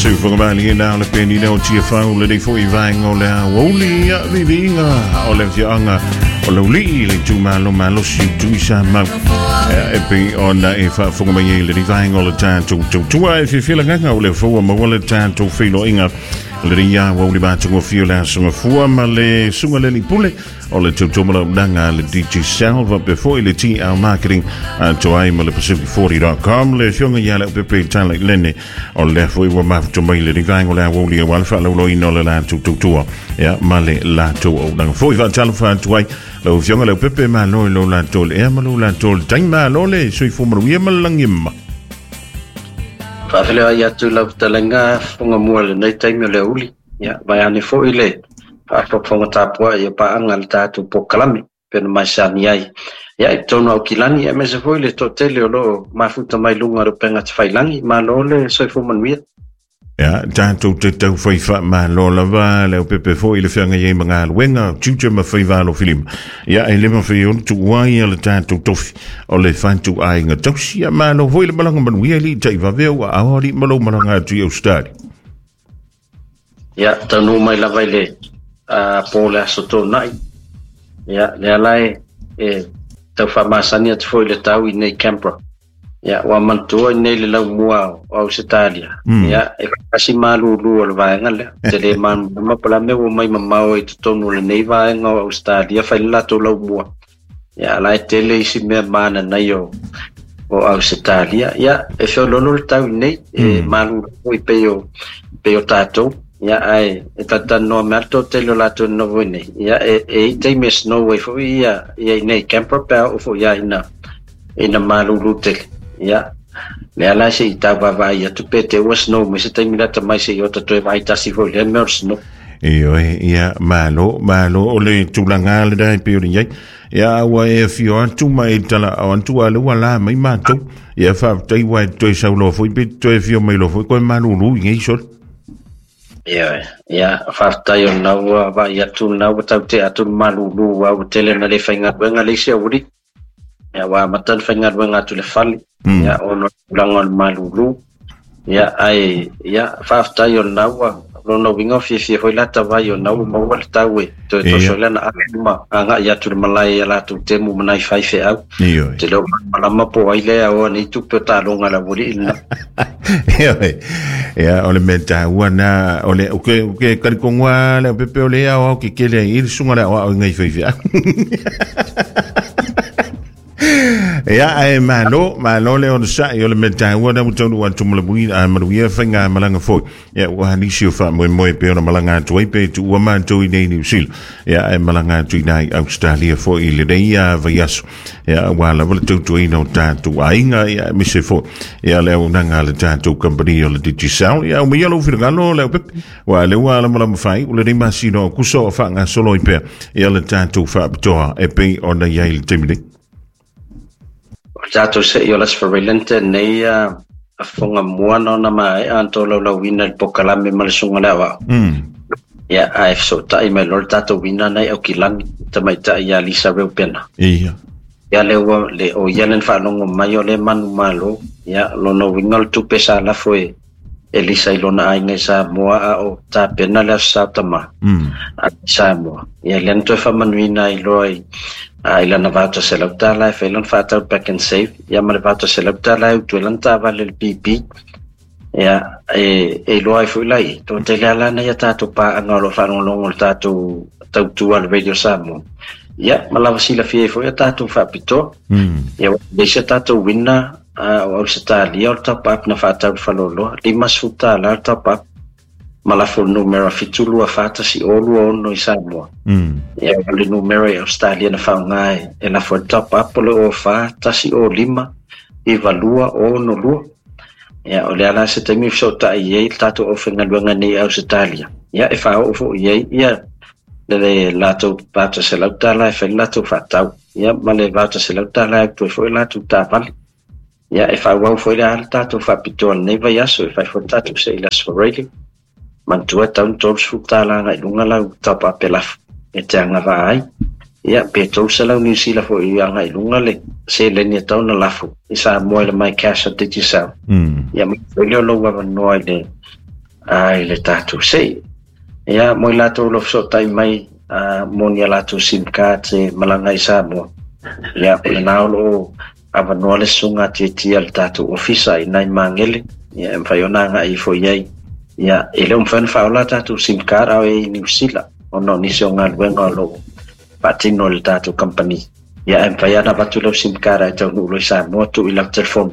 Sufogamali na le penina o Tiafau le nei foi vaenga o le aoauli ia viviiga o le afioaga o Laulii le itumalo malosi Tuisa Mau e pei ona e faafofoga mai ai lenei vaega o le tatou tautua e fiafia lagaga o le foua maua le tatou feiloaiga lenei aoauli matagofie o le aso gafua ma le suga le alii pule o le tautua malaunaga le DJ Sal faapea foi le TL Marketing atoa ai ma le Pacific40.com le afioga ia Leaupepe Tala i Lene o lea foi ua mafuta mai lenei vaega o le aoauli aua le faalauloina o le latou tautua ia ma le latou auaunaga foi. Faatalofa atu ai lau afioga Leaupepe, malo i lo latou le ea ma lo latou le taimi, malo le soifua manuia ma le lagi e mama. Faafeiloai atu lau fetalaiga fofoga mua i lenei taimi o le aoauli. Ia, vaeane foi le faafogafoga tapuai o paaga le tatou polokalame pei ona masani ai. Ia, i totonu o Aukilani, aemaise foi le toatele o lo o mafuta mai luga o le upega tafailagi. Malo le soifua manuia. Ia, tatou te taufai faamalo lava le aupepe foi i le feagai ai ma galuega, tiute ma faiva alofilima. Ia, e le mafai ona tuua ia le tatou tofi o le fatuaiga tausi. Ia, malo foi le malaga manuia i alii taivave ua ao alii ma lou malaga atu i Australia. Ia, taunuu mai lava i le po o le aso Toonai. Ia, lea la e tau faamasani atu foi i le tau i nei Canberra. Ia, ua manatua i nei le laumua o Ausetalia. Ia, e kasi malūlū o le vaega lea. Te le malamalama po o le a mea ua mai mamao i totonu o lenei vaega o Ausetalia fai le latou laumua. Ia, la e tele isi mea mananai o Ausetalia. Ia, e feoloolo le tau i nei, e malūlū foi pei o tatou. Ia, ae e talatalanoa mai lava le toatele o latou e nonofo i nei. Ia, e i ai taimi e snow ai foi ia i nei Canberra pe a oo foi lava ina malūlū tele. Ia, lea la se i tau vaavaai atu pe te ua snow mai se taimi lata mai se i ota toe vaai tasi foi lea mea o le snow. Ioe, ia, malo, malo o le tulaga lena e pei ona i ai. Ia, ua e afio atu ma e talaau atu a o lea ua la mai matou. Ia, faafetai ua e toe sau loa foi pe toe afio mai loa foi koe malūlū i nei sole. Ioe, ia, faafetai o lena ua vaai atu, lena ua tau tea atu le malūlū aua ua tele ina le faigaluega le isi aoauli. Ia, ua amata ona faigaluega atu i le fale, ia, ona o le tulaga o le malūlū. Ia, ae, ia, faafetai o lena ua, lona uiga ua fiafia foi lata vai o lena ua maua le tau e toe toso ai lana ave ma agai atu i le malae i a latou temu ma nai faifeau. Ioe. Te leo malamalama po o ai lea e aoa nei tupe o taaloga a le aualii lena. Ioe. Ia, o le mea taua na, o le, o ke, o ke talitonu lava le aupepe o le aoao kekele ai i le susuga i le aoao i nai faifeau. Ia, ae malo, malo le onosai o le mea taua na ua taunuu atu ma le manuia faigamalaga foi. Ia, ua nisi o faamoemoe pei ona malaga atu ai pe tuua matou i nei Niu Sila. Ia, ae malaga atu i nai Australia foi i lenei vaiaso. Ia, aua lava le tautuaina o tatou aiga, ia, aemaise foi, ia, le auaunaga a le tatou kamupani o le Digicel. Ia, aumaia lou finagalo, Leaupepe, aua o lea ua lamalama faaiu lenei masina o Aokuso o faagasolo ai pea, ia, le tatou faapitoa e pei ona i ai i le taimi nei. O le tatou se'i o Las Farelente nei afoga mua na ona maea ona tolaulauina i le polokalame ma le susuga i le aoao. Ia, ae fesootai mai loa le tatou wina na i Aukilani, tamaitai ia Lisa Reupena. Ia. Ia lea ua, le, o ia lea na faalogo mai o lea e manumalo. Ia, lona uiga o le tupe sa lafo e e Lisa i lona aiga i Samoa a o tapena le Aso Sa Tama a Samoa. Ia lea na toe faamanuina ai loa i i lana $800 e fai lana faatau Pak'nSave, ia ma le $800 e utu ai lana taavale i le PP. Ia, e iloa ai foi la i, toatele lava la nai a tatou paaga o lo o faalogologo i le tatou tautua a le Radio Samoa. Ia, ma lava silafia ai foi a tatou faapitoa. Ia, ua leai se tatou winner o Ausetalia o le top up na faatau i le faleoloa, $50 le top up ma lafo le numera 7241026 i Samoa. Ia, o le numera i Ausetalia na faaaoga e lafo ai le top up o le 04 105 9262. Ia, o lea la se taimi e fesootai i ai le tatou aufaigaluega nei i Ausetalia. Ia, e faaoo foi i ai ia le latou $800 e fai le latou faatau. Ia, ma le $800 e utu ai foi latou taavale. Ia, e faaauau foi la le tatou faapitoa lenei vaiaso e fai foi le tatou se'i i le Aso Faraile. Manatua e tatau ona $30 agai i luga lau top up e lafo e te agavaa ai. Ia, pe $300 Niu Sila foi agai i luga le seleni e tatau ona lafo i Samoa i le My Cash a Digicel. Ia, maua foi lea o lou avanoa i le Ai le tātou sei. Ia, mo i lātou lo fesotai mai mo ni a lātou SIM card se malanga i Samoa. Ia, o le nā o avanoa le sunga tia le tātou ofisa i nai mangele. Ia, e mwhai ona ngā i fo iai. Ia, e leo mwhai whaola tātou SIM card au e i New Zealand. Ono nisi o ngā luenga o lo patino le tātou company. Ia, e mwhai ana watu leo SIM card ai tau nulo i Samoa tu i lau telefon.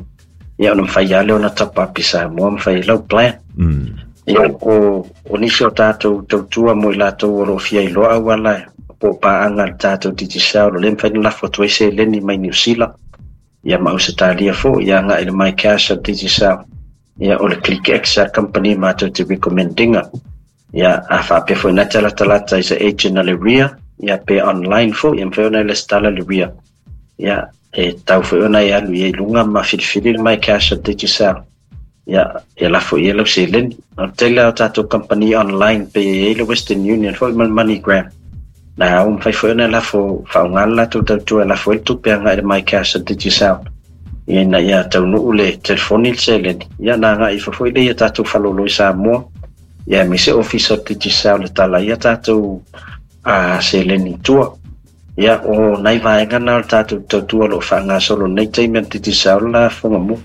Ia, ona mwhai ale ona tapa api Samoa, mwhai lau plan. Ia, o nisi o tātou tautua mo i lātou o lo fia i loa wala po paanga le tātou Digicel o le mwhai na lafo atu se leni mai New Zealand. Ia ma Australia fo, ia ngā i le My Cash a Digicel. Ia o le ClickX a company mātou te recommendinga. Ia a whaapea fo ina te lata is a agent a le RIA. Ia pe online fo, ia mwhai ona le stala le RIA. Ia e tau fo ona i alu ia i lunga ma whiriwhiri le My Cash a Digicel. Ia, e lafo ia lau seleni. O tele o tātou company online pe e le Western Union fo i mal MoneyGram. Nā, o mwhai fo ona lafo whaongala lātou tautua lafo e tupe anga i le My Cash a Digicel. Ia ina ia taunuu le telefoni le seleni. Ia nā ngā i fafo i le ia tātou whalolo i Samoa. Ia me se office o Digicel le tala ia tātou seleni tua. Ia o nai vaenga nā o tātou tautua lo whaanga solo nei teime Digicel la whonga mu.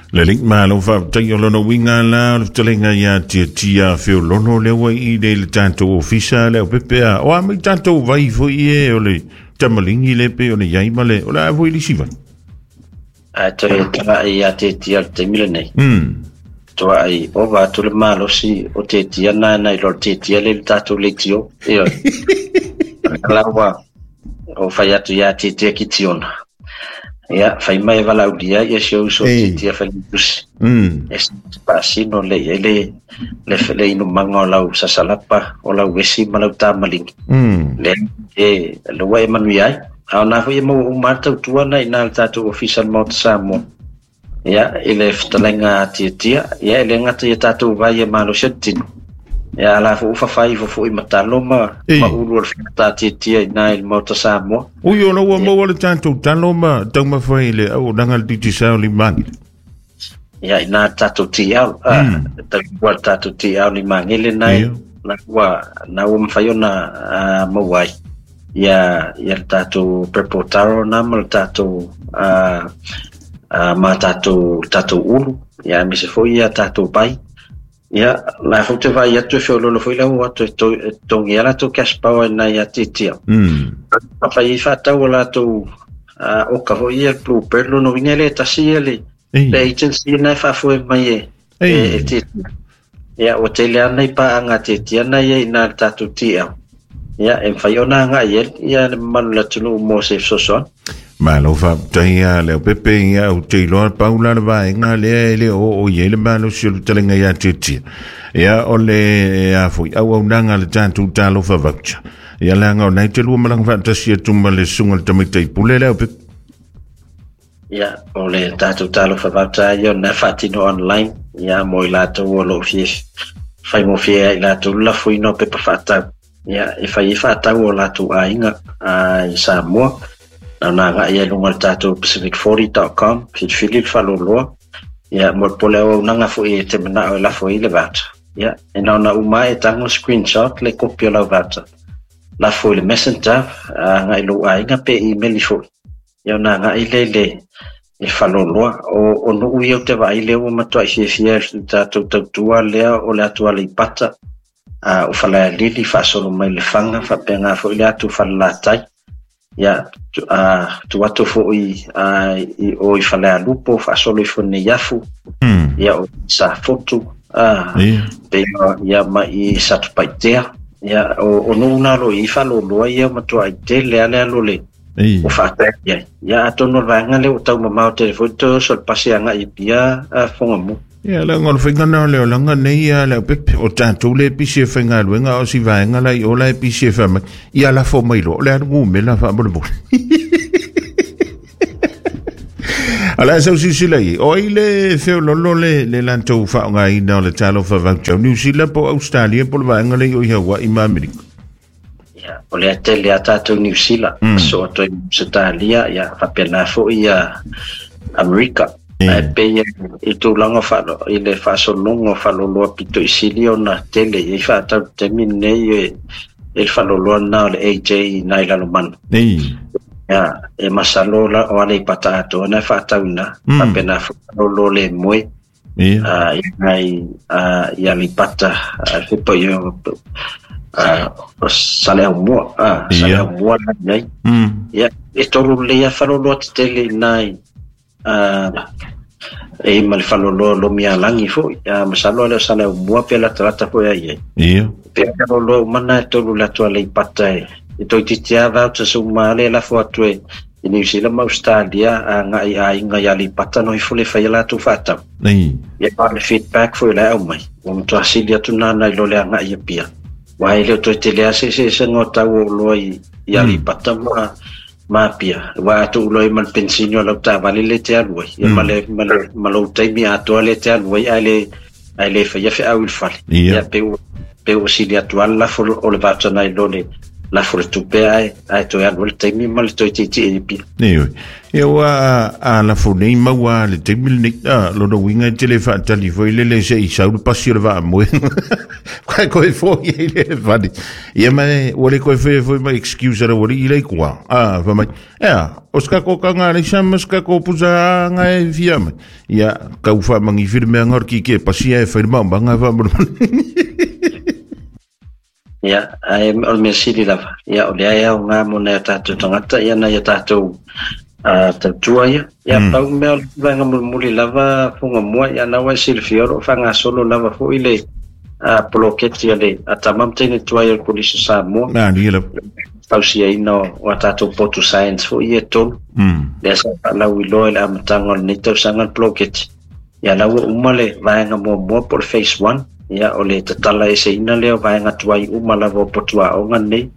Le link malo whaatai o lono winga la o le talenga ia tia tia whio lono lewa i le tātou ofisa le o pepea. O a mai tātou vai fo i e o le tamalingi le pe o le yaima le o le a fo i lisi vai. A toe taga i a te tia le teimile nei. Toa ai o va tu le malosi o te tia nā nai lo te tia le tātou le tio. Io. Lawa o whai atu ia te tia ki tiona. Ia, whai mai walaulia, ia se uso te tia whalingusi. E pasino le, e le inu manga o lau sasalapa, o lau wesi ma lau tāmalingi. Le, e, lua e manu ai. A o nā fo ia mau umātau tuana i nā le tātou ofisa le Samoa. Ia, i le whatalenga tia tia, ia, e le ngata ia tātou vai e malosia tino. Ia, ala fo uwhawhai fo fo i matalo ma ulu o le whiata tia tia i nā i le Maota Samoa. Ui o laua maua le tātou talo ma taumawhai le au nanga le Digicel li mangile. Ia, i nā tātou TL, ua le tātou TL li mangile nai, nā ua mwhai ona mauai. Ia, ia le tātou purple taro nā ma le tātou ma tātou ulu, ia mise fo ia tātou pai. Ia, la fo te vai atu e whiololo fo i lau atu e tongi a lātou cash power nai a titia. A whai i whātau o lātou o ka fo ia blue bird lono winga le tasi ia le agency nai whaafoe mai e titia. Ia, o te lea nei paanga titia nai e i nā le tātou TL. Ia, e mwhai ona ngā ia, ia le manu la tunu mo se sosoan. Malo whaptai a leo pepe ia o te iloa paula le vaenga lea e le o i e le malo si o le talenga ia titia. Ia o le a fui au au nanga le tātou talofa voucher. Ia langa o nei te lua malanga whaatasi e tuma le sunga le tamaita i pule leo pepe. Ia o le tātou talofa voucher ia o nā whaatino online. Ia mo i lātou o lo fie whai mo fie i lātou la fui no pepa whaatau. Ia e whai i whaatau o lātou ainga i Samoa. Nā nā ngā ia lunga le tātou pacific40.com, whiriwhiri le whaloloa. Ia, mo le pole au nanga fo i te mana o lafo i le voucher. Ia, e nā na uma e tango screenshot le kopi o lau voucher. Lafo i le messenger, ngā i lo ainga pe email i fo. Ia, nā ngā i le le whaloloa. O nuu ia o te vai leo o matua i fiafia i tātou tautua lea o le atua le ipata. O whalea lili, whaasolo mai le whanga, whapenga fo i le atu whalalatai. Ia, tu atu fo i o i whalea lupo, whaasolo i fone iafu, ia o sa fotu, pe ia ma i satupaitea, ia o nuu nalo i whaloloa ia matua i te lea lea lo le o whaatai ia. Ia atono vaenga le o tau mamao telefoni te oso le pasi anga i pia whonga mu. Ia, la ngol whainga nā leo langa nei ia leo pepe o tātou le pisi e whainga luenga o si vaenga lai o la e pisi e whamai. Ia la fo mai lo, le anu ngume la wha mole mole. Ala sau sisila i, o i le whio lolo le lantou whaonga ina o le talofa voucher. New Zealand po Australia po le vaenga lei o i Hawaii ma Amerika. Ia, o le ate le atatou New Zealand, so atu i Australia, ia whapena fo ia Amerika. Ae pei i tulaga i le faasologa o faaloloa pito i sili ona tele i ai fa'atau i le taimi lenei e le faaloloa lena o le AJ i Lalomanu. Ia, e masalo o Aleipata atoa na e fa'atau i ina, faapena foi faalolo le moe i Aleipata, fe po i Saleaumua, Saleaumua nei. Ia, e tolu lelei lava faaloloa tetele i ina e ma le faaloloa Lomialagi foi, masalo le o Saleaumua pe latalata foi ai ai. Pe faaloloa uma na e tolu le atu Aleipata e toeitiiti lava vouchers uma le lafo atu e i New Zealand ma Australia agai aiga i Aleipata no ifo le faia latou fa'atau. Ia, ma le feedback foi o le aumai, ua matuā sili atu nana i lo le aga'i Apia. Ua e le o toe tele lava se eseesega o tau o oloa i Aleipata ma Apia. Ua a tuuloa ai ma le penisini o lau taavale le te alu ai. Ia ma lou taimi atoa le te alu ai ae le faia feau i le fale. Ia pe ua sili atu lava le lafo o le voucher nai lo le lafo le tupe ae toe alu ai le taimi ma le toe tietie i Apia. Ioe. Ia ua a lafo nei maua le taimi lenei. Lona uiga e tele faatali foi lele se i sau le pasi o le vaamoe. Kai koe foi ai le fale. Ia mai ua le koe foi foi mai excuse ara ua i lei kua. Fa mai. Ea, o ska ko ka ngā leisa ma ska ko pusa ngā e fia mai. Ia, kau wha mangi whiri mea ngā ki ke pasi e whai mau manga wha mura. Ia, ae o le mea sili lava. Ia, o lea e au ngā mo nei o tātou tagata, ia nai o tātou tautua ia. Ia, pau mea o le vaega mulimuli lava Fuga Mua, ia na ua e silafia o lo o faagasolo lava foi le poloketi a le a tama ma teine tuai o le Kolisi o Samoa. Nā, ni la. Fausiaina o a tātou potu science foi ia e tolu. Lea sa faalauiloa i le amataga o lenei tausaga le poloketi. Ia la ua uma le vaega muamua po o le phase 1. Ia o le tatala eseina lea o vaega tuai uma lava o potu aoga nei.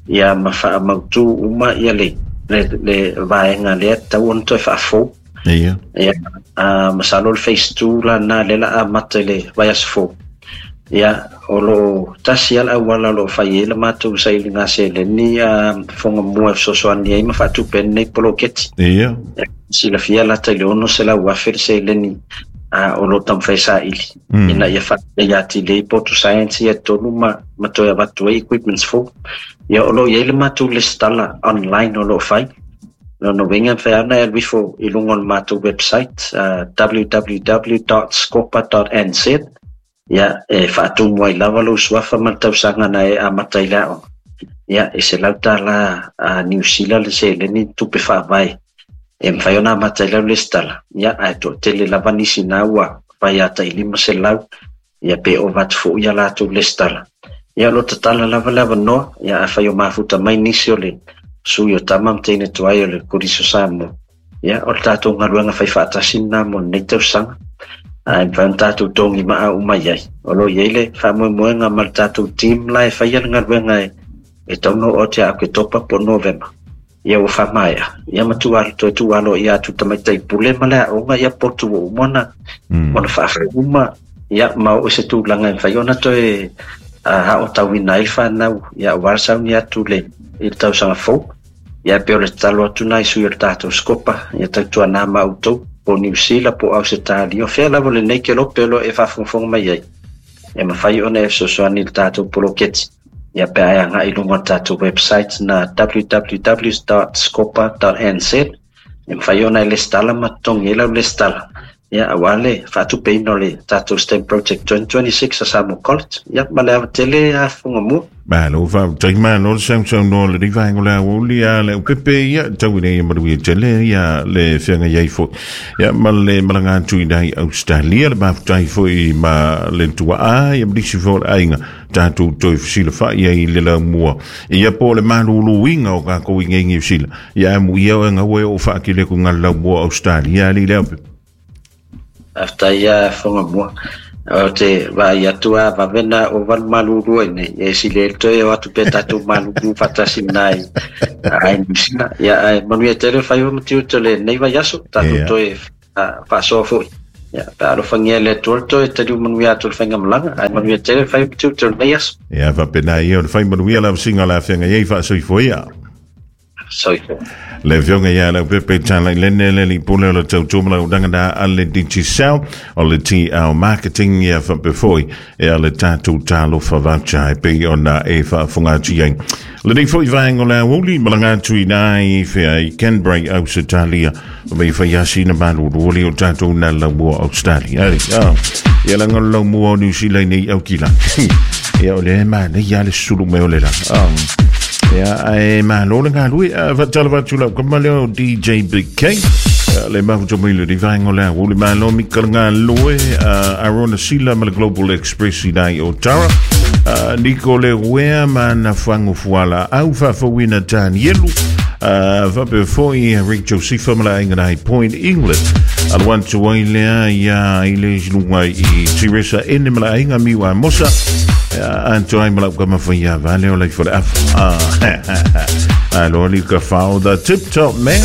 Ia ma faamautu uma ia le vaega lea tatau ona toe faafou. Ia, masalo le phase 2 la na le la amata i le vaiaso fou. Ia, o lo tasi lava le auala o lo o fai ai le matou sailiga seleni Foga Mua e fesoasoani ai ma faatupe ai lenei poloketi. Silafia lata i le 600,000 le seleni o lo o taumafai saili ina ia faaleleia atili ai potu science ia e tolu ma toe avatu ai equipments fou. Ia o lo o i ai le matou lesitala online o lo o fai. Lona uiga e mafai lava ona e alu ifo i luga o le matou website www.scopa.nz. Ia e faatumu ai lava lou suafa ma le tausaga na e amata i le aoga. Ia e $100 a New Zealand le seleni tupe faavae e mafai ona amata ai lau lesitala. Ia ae toatele lava nisi na ua fai ata i 500 ia pe ova atu foi ia latou lesitala. Ia o lo tatala lava le avanoa, ia afai o mafuta mai nisi o le sui o tama ma teine tuai o le Kolisi o Samoa. Ia o le tatou galuega fai faatasi lena mo lenei tausaga. Ae mafai ona tatou togi maa uma i ai. O lo o i ai le faamoemoega ma le tatou team la e faia le galuega e tau ona oo atu ia Oketopa po o Novema. Ia ua faamaea. Ia ma tuualo toe tuualo ia atu tamaitai pule ma le aoga ia potu ua uma ona faafou uma. Ia ma oo i se tulaga e mafai ona toe aotauina ai le fanau. Ia aua le sauni atu le i le tausaga fou. Ia pe o le tatalo atu nai sui o le tatou Scopa, ia tautuana ma outou, po New Zealand po Ausetalia, o fea lava lenei kelope o lo o e faafogafoga mai ai. E mafai ona e fesoasoani i le tatou poloketi. Ia pe a e agai i luga o le tatou website na www.scopa.nz e mafai ona e lesitala ma totogi ai lau lesitala. Ia aua le faatupeina o le tatou STEM Project 2026 a Samoa College. Ia ma le ava tele a Fuga Mua. Malo faafetai malo le sausaunoa o lenei vaega o le aoauli a le upepe ia tau ina ia manuia tele ia le feagai ai foi ia ma le malaga atu i nai Australia le mafutai foi ma le tuaa ia ma nisi foi o le aiga tatou toe fesilafai ai i le laumua ia po o le maluluina o tatou i nei Niu Sila ia amuia oe gaua e oo faatele atu i le laumua o Australia alii le aupepe. Faafetai a Foga Mua. O te vaai atu a vave na o valu malulu ai nei. E sili ai le toe o atu pe tatou malulu faatasi nai ai New Zealand. Ia ae manuia tele faiva ma tiute o lenei vaiaso. Tatou toe faasoa foi. Ia pe alofagia e le Atua le toe taliu manuia atu o le faigamalaga. Ae manuia tele faiva ma tiute o lenei aso. Ia faapena ia o le fai manuia lau siga o le afeaga ai faasoifua ia. Soifua. Le afioga ia Leaupepe Talailene, le alii pule o le tautua ma le auaunaga na a le Digicel, o le TL Marketing, ia faapea foi ia le tatou Talofa Voucher e pei ona e faafofoga atu i ai. Lenei foi vaega o le aoauli, malaga atu i ina i whea i Canberra, Ausetalia, me whai asi na malulu o tatou na laumua Australia. Ari, ah, ia langa o le laumua o New Zealand nei au kila. Ia o le ma nei ia le sulu me o le la. Ah. Ia ae malo le galue, whaatala watu lau kama leo DJ Big K. Le mahu mai le vaega o le aoauli malo mi kalanga loe Arona Sila ma le Global Express i nai o Tara. Nico le wea ma na whangu fuala au whawhawina Danielu. Faapea foi Rick Josepha ma le aiga nai Point England. Alu atu ai lea ia i le luga i Teresa Ene ma le aiga Miwa Mosa. Anto ai ma lau kama whaia vale o lei fole afa. Alo ali ka whao the tip top man.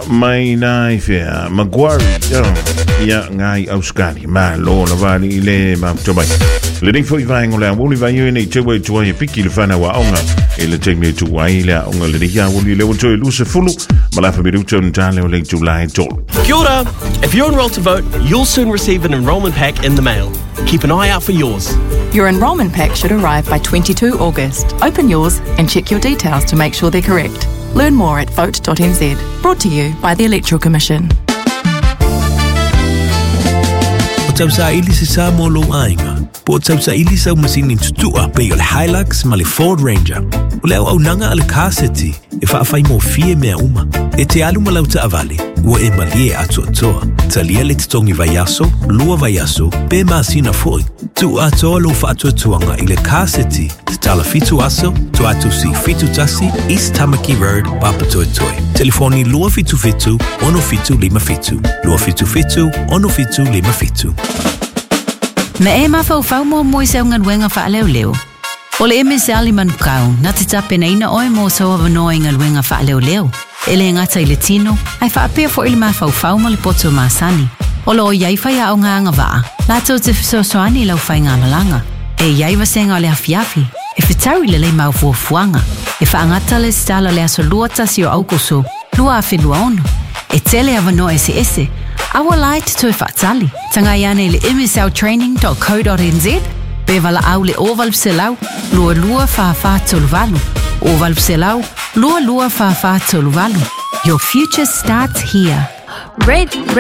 Mai nai whea Maguari. Ia ngai Auskali. Ma lo la vali i le mafuta mai. Le nei foi vaega o le aoauli vai e nei te wei tuai e piki le whanau a onga. E le teime e tu ai le aonga le nei aoauli le o toe 20 ma la whamiruta o ntale o le tū tolu. Kia ora! If you're enrolled to vote, you'll soon receive an enrolment pack in the mail. Keep an eye out for yours. Your enrolment pack should arrive by 22 August. Open yours and check your details to make sure they're correct. Learn more at vote.nz. Brought to you by the Electoral Commission. O tausaili se sa mo lou aiga, po o tausaili sau masini tutua pei o le Hilux ma le Ford Ranger. O le auaunaga a le Car City e faafaigofie mea uma. E te alu ma lau taavale, ua e malie atoatoa. Talia le totogi vaiaso, 2 vaiaso, pe masina foi. Tuu atoa lou faatuatuaga i le Car City, tatala 7 aso, Tuatusi 71, East Tamaki Road, Papatoetoe. Telefoni 277 6757. 277 6757. Na e mafaufau muamua i sau galuega faaleoleo. O le MSL i Manukau, na te tapenaina oe mo sau avanoa i galuega faaleoleo. E le gata i le tino, ae faapea foi le mafaufau ma le poto masani. O lo o iai faiaoga agavaa, latou te fesoasoani i lau faigamalaga. E iai vasega o le afiafi, e fetau i lelei mau fuafuaga. E faagata le resitala le aso 21 o Aukuso, 2026. E tele avanoa eseese, aua la e te toe faatali. Tagai ane i le msltraining.co.nz pe valaau le 0800 22 44 38. 0800 22 44 38. Your future starts here. Red, red.